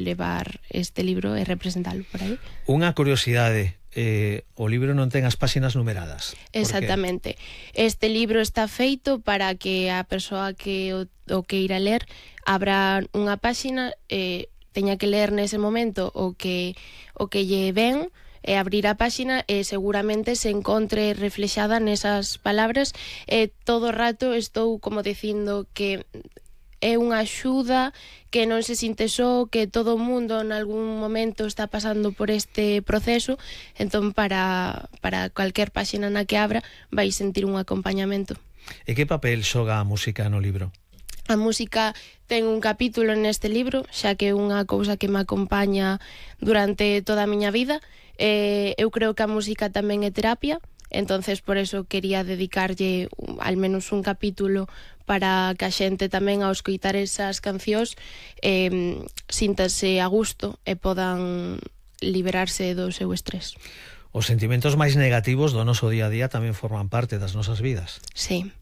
levar este libro e representalo por aí. Unha curiosidade, o libro non ten as páxinas numeradas. Exactamente. Este libro está feito para que a persoa que o queira ler abra unha páxina, teña que ler nese momento o que lle ven, e abrir a páxina e seguramente se encontre reflexada nesas palabras. Todo o rato estou como dicindo que é unha axuda, que non se sinte só, que todo o mundo en algún momento está pasando por este proceso, entón para cualquier páxina na que abra vai sentir un acompañamento. E que papel xoga a música no libro? A música ten un capítulo neste libro, xa que é unha cousa que me acompaña durante toda a miña vida. Eu creo que a música tamén é terapia, entonces por eso quería dedicarlle al menos un capítulo para que a xente tamén ao escoitar esas cancións síntase a gusto e podan liberarse do seu estrés. Os sentimentos máis negativos do noso día a día tamén forman parte das nosas vidas. Sí.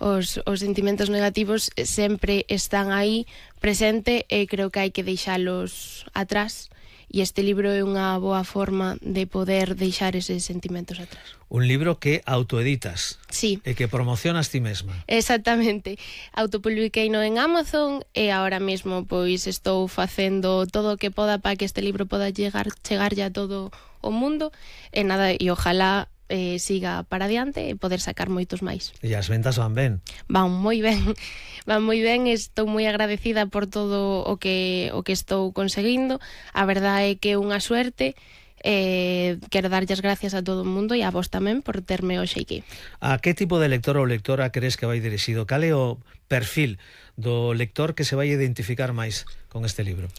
Os sentimentos negativos sempre están aí presente e creo que hai que deixalos atrás, e este libro é unha boa forma de poder deixar eses sentimentos atrás. Un libro que autoeditas. Sí. E que promocionas ti mesma. Exactamente. Autopubliqueino en Amazon e ahora mesmo pois estou facendo todo o que poda para que este libro poda chegar ya a todo o mundo e nada, e ojalá siga para adiante e poder sacar moitos máis. E as ventas van ben? Van moi ben, estou moi agradecida por todo o que estou conseguindo. A verdade é que é unha suerte. Quero darlle as gracias a todo o mundo e a vos tamén por terme hoxe aquí. A que tipo de lector ou lectora crees que vai dirixido? Cal é o perfil do lector que se vai identificar máis con este libro?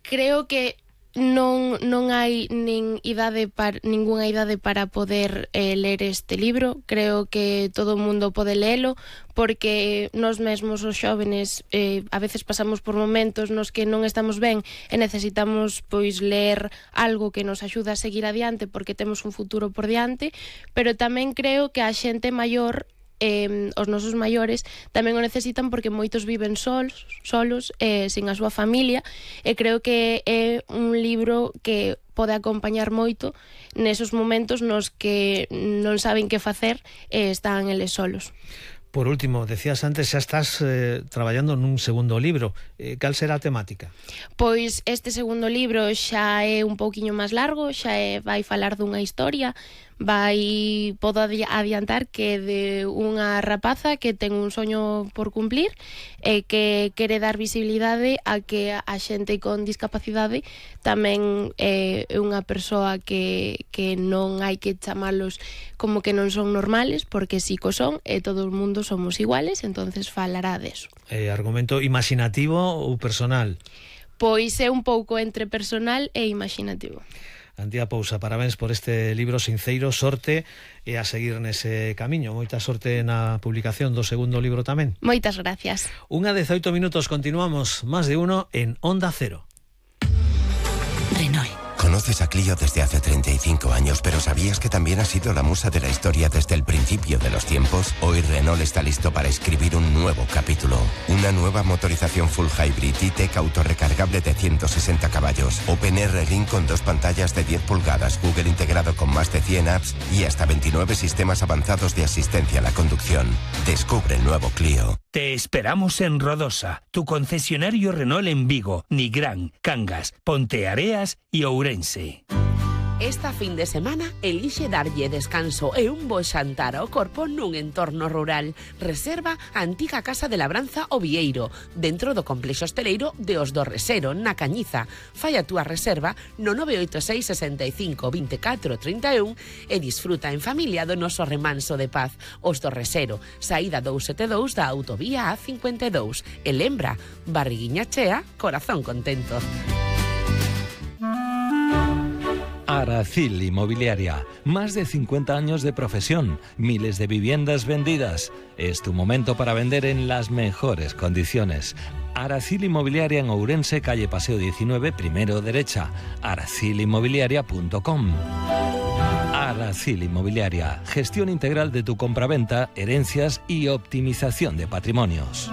Creo que non hai ningunha idade para poder ler este libro. Creo que todo o mundo pode lelo, porque nós mesmos os xóvenes a veces pasamos por momentos nos que non estamos ben e necesitamos pois ler algo que nos axuda a seguir adiante porque temos un futuro por diante, pero tamén creo que a xente maior, os nosos maiores tamén o necesitan porque moitos viven solos, sin a súa familia, e creo que é un libro que pode acompañar moito nesos momentos nos que non saben que facer e están eles solos. Por último, decías antes, xa estás traballando nun segundo libro. Cal será a temática? Pois este segundo libro xa é un pouquiño máis largo, vai falar dunha historia, podo adiantar que de unha rapaza que ten un soño por cumplir e que quere dar visibilidade a que a xente con discapacidade tamén é unha persoa que non hai que chamalos como que non son normales, porque si co son e todo o mundo somos iguales, entonces falará deso. Argumento imaginativo ou personal? Pois é un pouco entre personal e imaginativo. Antía Pousa, parabéns por este libro sinceiro, sorte e a seguir nese camiño. Moita sorte na publicación do segundo libro tamén. Moitas gracias. 1:18 minutos, continuamos, Más de Uno en Onda Cero. Renault. Conoces a Clio desde hace 35 años, pero ¿sabías que también ha sido la musa de la historia desde el principio de los tiempos? Hoy Renault está listo para escribir un nuevo capítulo. Una nueva motorización full hybrid E-Tech autorrecargable de 160 caballos. OpenR Link con 2 pantallas de 10 pulgadas, Google integrado con más de 100 apps y hasta 29 sistemas avanzados de asistencia a la conducción. Descubre el nuevo Clio. Te esperamos en Rodosa, tu concesionario Renault en Vigo, Nigrán, Cangas, Ponteareas y Ourense. Esta fin de semana elixe darlle descanso e un bo xantar ao corpo nun entorno rural. Reserva a antiga Casa de Labranza O Vieiro, dentro do complexo hosteleiro de Os do Resero, na Cañiza. Fai a túa reserva no 986 65 24 31 e disfruta en familia do noso remanso de paz. Os do Resero, saída 272 da autovía A52. E lembra, barriguiña chea, corazón contento. Aracil Inmobiliaria, más de 50 años de profesión, miles de viviendas vendidas. Es tu momento para vender en las mejores condiciones. Aracil Inmobiliaria en Ourense, calle Paseo 19, primero derecha. aracilinmobiliaria.com. Aracil Inmobiliaria, gestión integral de tu compraventa, herencias y optimización de patrimonios.